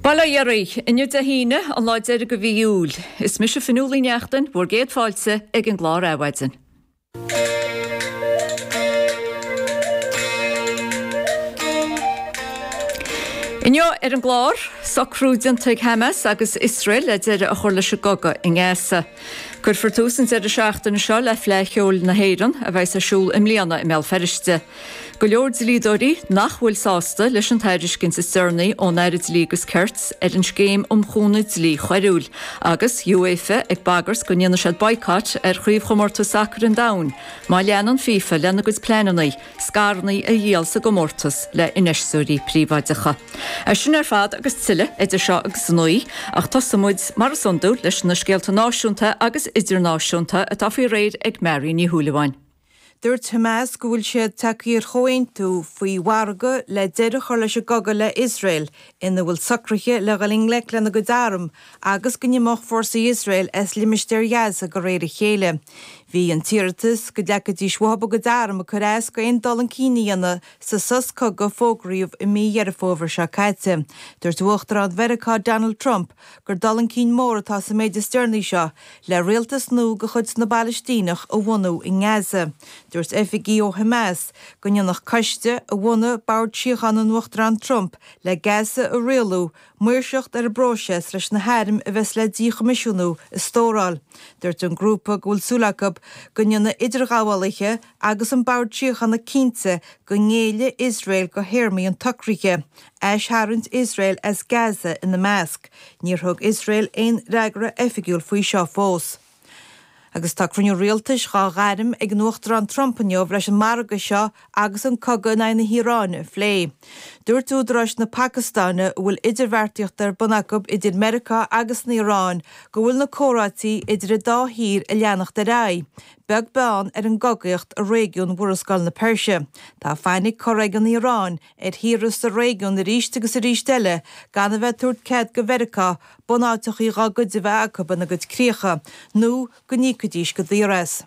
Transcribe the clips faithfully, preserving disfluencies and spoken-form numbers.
Bail ó Dhia oraibh, inniu Dé hAoine, an lá deiridh de mhí Iúil. Is mise Fionnuala Ní Neachtain, bhur gcéad fáilte ag an gclár Adhmhaidin. Inniu ar an gclár, socrú déanta ag Hamas agus Iosrael le deireadh a chur leis an gcogadh i nGaza. Cuirfear tús an deireadh seachtaine seo le Fleadh Cheoil na hÉireann, a bheas ar siúl i mbliana i mBéal Feirste. Go leor dlíodóirí nach bhfuil sásta leis an tairiscint is deireanaí ón Aire Dlí agus Cirt ar an scéim um chúnamh dlí choiriúil, agus UEFA ag bagairt go ndéanfaidh siad boycott ar chraobhchomórtas sacair an domhain má leanann FIFA lena gcuid pleananna scaireanna a dhíol sa gcomórtas le infheisteoirí príobháideacha. É sin ar fad agus tuilleadh idir seo agus a naoi, ach tosóidh muid, mar is iondúil, leis na scéalta náisiúnta agus idirnáisiúnta atá faoi réir ag Mary Ní Shúilleabháin. Dúirt Hamas go bhfuil siad tagtha ar chomhaontú faoi mhargadh le deireadh a chur leis an gcogadh le Iosrael, ina bhfuil socruithe le dhul i ngleic lena gcuid arm agus go n-imeodh fórsaí Iosrael as limistéar Ghaza de réir a chéile. Bhí an t-iarratas go dleagfaidís uathu a gcuid arm ag cur as go aon dul chun cinn a dhéanamh sa sos cogaidh a fógraíodh i mí Dheireadh Fómhair seo caite. Dúirt Uachtarán Mheiriceá Donald Trump gur dul chun cinn mór atá sa méid is deireanaí seo le rialtas nua de chuid na bPalaistíneach a bhunú i nGaza. Dúirt oifigigh ó Hamas go ndéanfadh coiste a bhunaigh Bord Síochána an Uachtaráin Trump le Gaza a rialú maoirseacht ar an bpróiseas leis na hairm a bheas le díchoimisiúnú a stóráil. Dúirt an grúpa go bhfuil súil acu go ndéanfaidh idirghabhálaithe agus an Bord Síochána cinnte go ngéillfidh Iosrael do théarmaí an tsocraithe, aistharraingt Iosrael as Gaza ina measc. Níor thug Iosrael aon fhreagra oifigiúil faoi seo fós. Agus tá cruinniú rialtais dhá ghairm ag an Uachtarán Trump inniu leis an margadh seo agus an cogadh in aghaidh na hIaráine a phlé. Dúirt údaráis na Pacastáine, a bhfuil idirbheartaíocht ar bun acu idir Meiriceá agus an Iaráin, go bhfuil na comhráití idir an dá thír ag leanacht ar aghaidh, beag beann ar an gcogaíocht i réigiún Mhurascaill na Peirse. Tá fainic curtha ag an Iaráin ar thíortha sa réigiún arís agus arís eile gan a bheith ag tabhairt cead do Mheiriceá bunáiteachaí dhá gcuid a bheith acu ina gcuid críocha, nó go n-íocfaidís go daor as.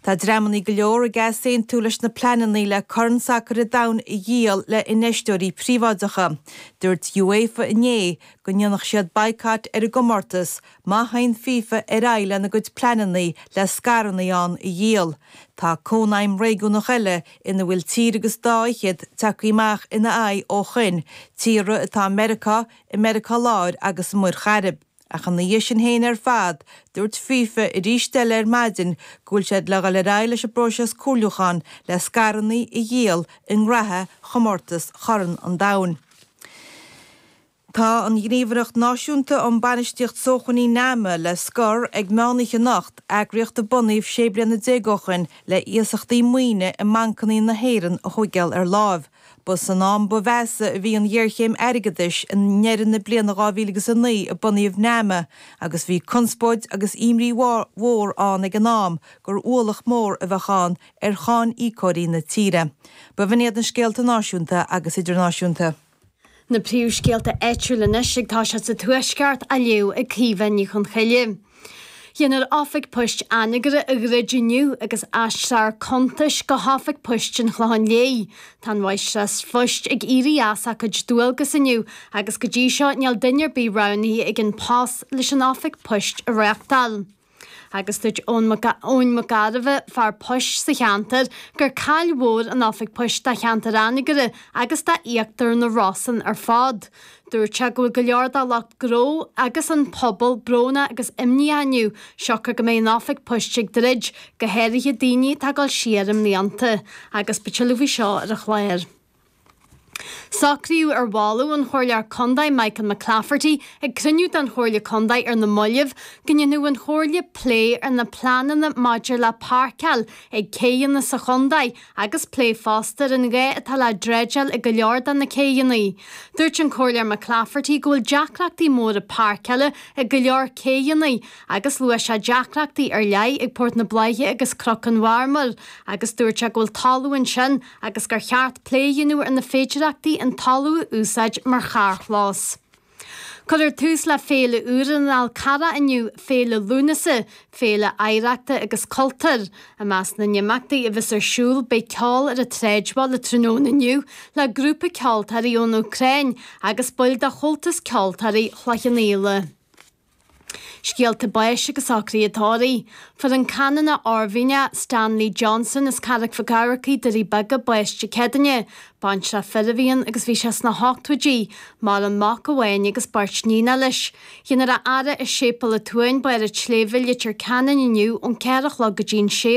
Tá dreamannaí go leor ag easaontú leis na pleanannaí le Corn Sacair an Domhain a dhíol le infheisteoirí príobháideacha. Dúirt UEFA inné go ndéanfadh siad baghcat ar an gcomórtas má théann FIFA ar aghaidh lena gcuid pleanannaí le scaireannaí ann a dhíol. Tá cónaidhm réigiúnach eile ina bhfuil tír agus dá fhichead tagtha amach ina aghaidh ó shoin, tíortha atá i Meiriceá, i Meiriceá Láir agus i Muir Chairib. Ach ina dhiaidh sin féin ar fad, dúirt FIFA arís eile ar maidin go bhfuil siad le dhul ar aghaidh leis an bpróiseas comhairliúcháin le scaireannaí a dhíol i ngraithe chomórtas Chorn an Domhain. Tá an Ghníomhaireacht Náisiúnta um Bainistíocht Sócmhainní NAMA le scor ag meánoíche anocht, eagraíocht a bunaíodh sé bliana déag ó shoin le iasachtaí maoine i mbancannaí na hÉireann a thóigeáil ar láimh. Ba san am ba mheasa a bhí an ghéarchéim airgeadais i ndeireadh na bliana dhá mhíle agus a naoi a bunaíodh NAMA agus bhí conspóid agus imní mhór ann ag an am gur ualach mór a bheadh ann ar cháin íocóirí na tíre. B'in iad na scéalta náisiúnta agus idirnáisiúnta. Na príomhscéalta áitiúla anois ag toiseacht sa Tuaisceart á léamh ag Caoimhe Ní Chonchoille. Déanfar Oifig Poist Anagaire a dhruid inniu agus aistreofar cuntais go hOifig Poist an Chlocháin Léith. Tá an Mháistreás Phoist ag éirí as a cuid dualgas inniu agus go dtí seo níl duine ar bith roghnaithe ag An Post leis an Oifig Poist a reáchtáil. Agus dúirt Eoin Mac Gairbheith, fear poist sa cheantar, gur caill mhór an Oifig Poist do cheantar Anagaire agus d'íochtar na Rosann ar fad. Dúirt sé go bhfuil go leor dá lucht gnó agus an pobal brónach agus imníoch inniu, siocair go mbeidh an Oifig Poist ag druid, go háirithe daoine atá ag dul siar i mblianta. Agus beidh tuilleadh faoi seo ar an chlár. Socraíodh ar mholadh an Chomhairleoir Contae Michael McClafferty ag cruinniú den Chomhairle Contae ar na mallaibh go ndéanfadh an Chomhairle plé ar na pleananna maidir le páirceáil ag céidheanna sa chontae agus plé fosta ar an ghá atá le dreideáil ag go leor de na céidheanna. Dúirt an Comhairleoir McClafferty go bhfuil deacrachtaí móra páirceála ag go leor céidheanna agus luaigh sé deacrachtaí ar leith ag Port na Bláiche agus Cnoc an Mharmair agus dúirt sé go bhfuil talamh ansin agus gur cheart plé a dhéanamh ar na féidearthachtaí an talamh a úsáid mar charrchlós. Cuirfear tús le féile úr an Fhál Carrach inniu Féile Lúnasa, féile oidhreachta agus cultúir. I measc na n-imeachtaí a bheas ar siúl beidh ceol ar an tsráidbhaile tráthnóna inniu le grúpa ceoltóirí ón Úcráin agus baill de Chomhaltas Ceoltóirí Chloich Cheann Fhaola. Scéalta báis agus socruithe tórraimh. Fuair an Canónach Oirmhinneach Stanley Johnson as Carraig Mhic Eamharcaigh, Doirí Beaga, bás Dé Céadaoine. Baintreach fir a bhí ann agus bhí sé sna hochtóidí. Maireann mac amháin agus beirt níonacha leis. Déanfar a fhaire i Séipéal an tSuain, Barr an tSléibhe, Leitir Ceanainn inniu ón ceathair a chlog go dtí an sé